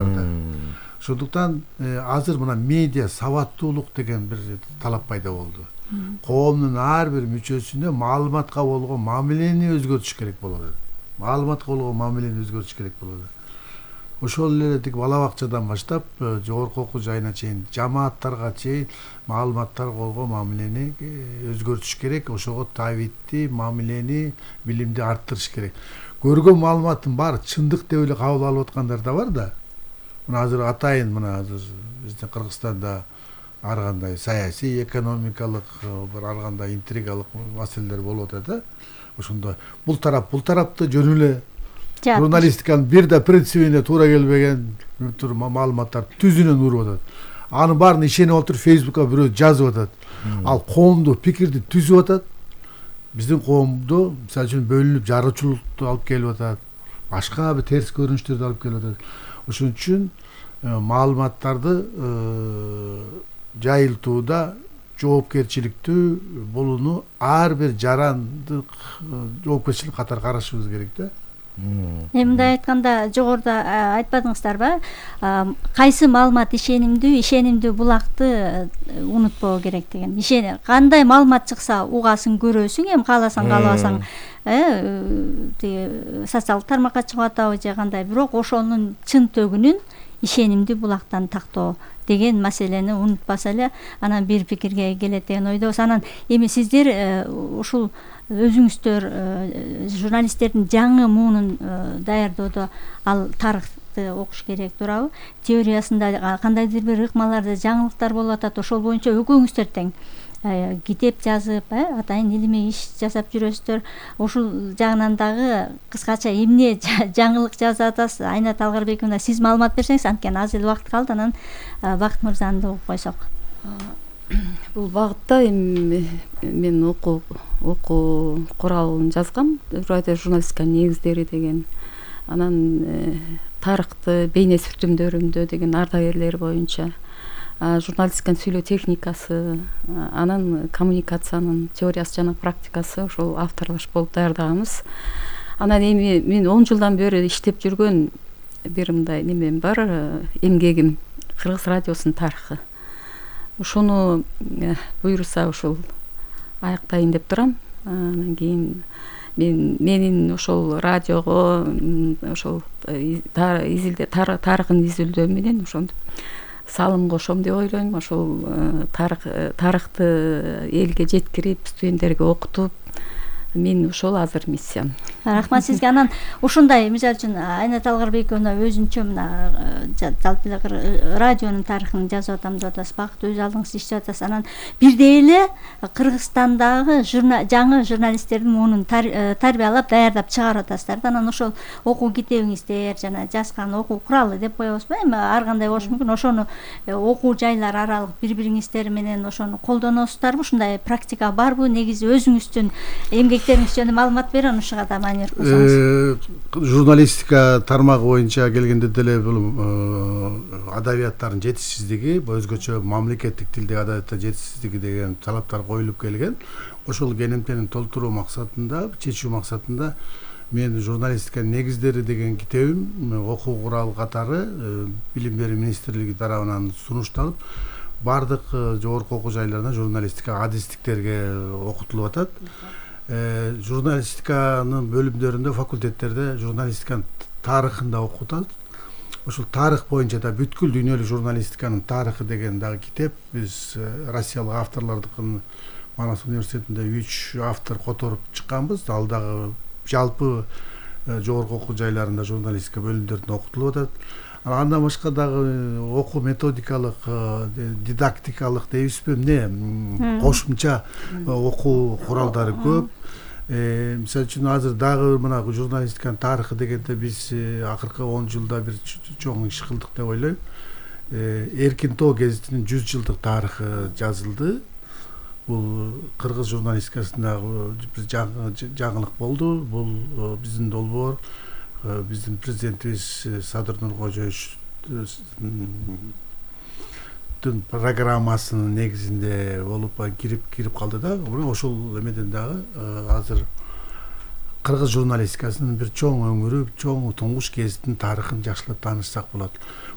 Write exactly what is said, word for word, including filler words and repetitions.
Ошондуктан азыр мына медиа сабаттуулук деген бир талап пайда болду. Коомдун ар бир мүчөсүнө маалыматка болгон мамилени өзгөртүш керек болот. Маалыматка болгон мамилени өзгөртүш керек болот. Ошол эле тик бала бакчадан баштап жогорку окуу жайына чейин жамааттарга чейин маалыматтарга болгон мамилени өзгөртүш керек. Ошого табитти, мамилени, билимди арттырыш керек. Көргөн маалыматтын баары чындык деп эле кабыл алып аткандар да бар да. Мына азыр атайын мына азыр биздин Кыргызстанда ар кандай саясий, экономикалык, бир ар кандай интригалык маселелер болуп атат да. Ошондо бул тарап, бул тарапты жөн эле журналистиканын бир да принцибине туура келбеген түр маалыматтар түзүнөн уруп атат. Анын баарын ишенип отуруп Фейсбукка бирөө жазып атат. Ал коомдук пикирди түзүп атат. Биздин коомду мисалы үчүн бөлүнүп жарычулукту алып келип атат. Башка бир терс көрүнүштөрдү алып келип атат. Ошон үчүн маалыматтарды жайылтууда жоопкерчиликтүү болууну ар бир жарандык жоопкерчилик катары карашыбыз керек да. Эми мындай айтканда жогоруда айтпадыңыздарбы? Кайсы маалымат ишенимдүү, ишенимдүү булакты унутпоо керек деген. Ишени кандай маалымат чыкса угасың, көрөсүң, эми кааласаң, каалабасаң, э, тиги социалдык тармакка чыгып атабы же кандай, бирок ошонун чын төгүнүн ишенимдүү булактан тактоо деген маселени унутпаса эле анан бир пикирге келет деген ойдобуз. Анан эми сиздер ушул өзүңүздөр журналисттердин жаңы муунун даярдоодо ал тарыхты окуш керек туурабы? Теориясында кандайдыр бир ыкмаларды жаңылыктар болуп атат, ошол боюнча экөөңүздөр тең китеп жазып, атайын илимий иш жасап жүрөсүздөр. Ушул жагынан дагы кыскача эмне жаңылык жазып атасыз? Айнат Алгарбековна, сиз маалымат берсеңиз, анткени аз эле убакыт калды, анан Бакыт мырзаны да угуп койсок. Бул багытта эми мен окуу окуу куралын жазгам, радиожурналистиканын негиздери деген. Анан тарыхты бейне сүртүмдөрүндө деген ардагерлер боюнча, журналистиканын сүйлөө техникасы, анан коммуникациянын теориясы жана практикасы ошол авторлаш болуп даярдаганбыз. Анан эми мен он жылдан бери иштеп жүргөн бир мындай немем бар, эмгегим Кыргыз радиосунун тарыхы. Ошону буйруса ушул аяктайын деп турам. Анан кийин мен менин ошол радиого ошол тарыхын изилдөө менен ошондо салым кошом деп ойлойм. Ошол тарых тарыхты элге жеткирип, студенттерге окутуп, мен ошол азыр миссиям. Рахмат сизге. Анан ушундай мисалы үчүн Айнат Алгарбековна өзүнчө мына жалпы эле радионун тарыхын жазып атам деп атасыз, Бакыт өз алдыңыз иштеп атасыз. Анан бирдей эле Кыргызстандагы жаңы журналисттердин муунун тарбиялап, даярдап чыгарып атасыздар да. Анан ошол окуу китебиңиздер жана жазган окуу куралы деп коебузбу, эми ар кандай болушу мүмкүн. Ошону окуу жайлар аралык бири-бириңиздер менен ошону колдоносуздарбы? Ушундай практика барбы? Негизи өзүңүздүн эмгектериңиз жөнүндө маалымат берип, ушуга да маанилик кылсаңыз. Журналистика тармагы боюнча келгенде деле бул адабияттардын жетишсиздиги, өзгөчө мамлекеттик тилдеги адабияттардын жетишсиздиги деген талаптар коюлуп келген. Ошол кенемтени толтуруу максатында, чечүү максатында мен журналистиканын негиздери деген китебим окуу куралы катары Билим берүү министрлиги тарабынан сунушталып, бардык жогорку окуу жайларында журналистика адистиктерге окутулуп атат. Журналистиканын бөлүмдөрүндө, факультеттерде журналистиканын тарыхын да окутат. Ошол тарых боюнча да бүткүл дүйнөлүк журналистиканын тарыхы деген дагы китеп биз Россиялык авторлордукун Манас университетинде үч автор которуп чыкканбыз. Ал дагы жалпы жогорку окуу жайларында журналистика бөлүмдөрүндө окутулуп атат. Андан башка дагы окуу методикалык, дидактикалык дейбизби, эмне кошумча окуу куралдары көп. Мисалы үчүн азыр дагы мына журналистиканын тарыхы дегенде биз акыркы он жылда бир чоң иш кылдык деп ойлойм. Эркин Тоо гезитинин жүз жылдык тарыхы жазылды. Бул кыргыз журналистикасындагы бир жаңылык болду. Бул биздин долбоор, биздин президентибиз Садыр Нуркожоевичтин программасынын негизинде болуп кирип кирип калды да. Ошол эмеден дагы азыр кыргыз журналистикасынын бир чоң өңүрү, чоң туңгуш гезиттин тарыхын жакшылап таанышсак болот.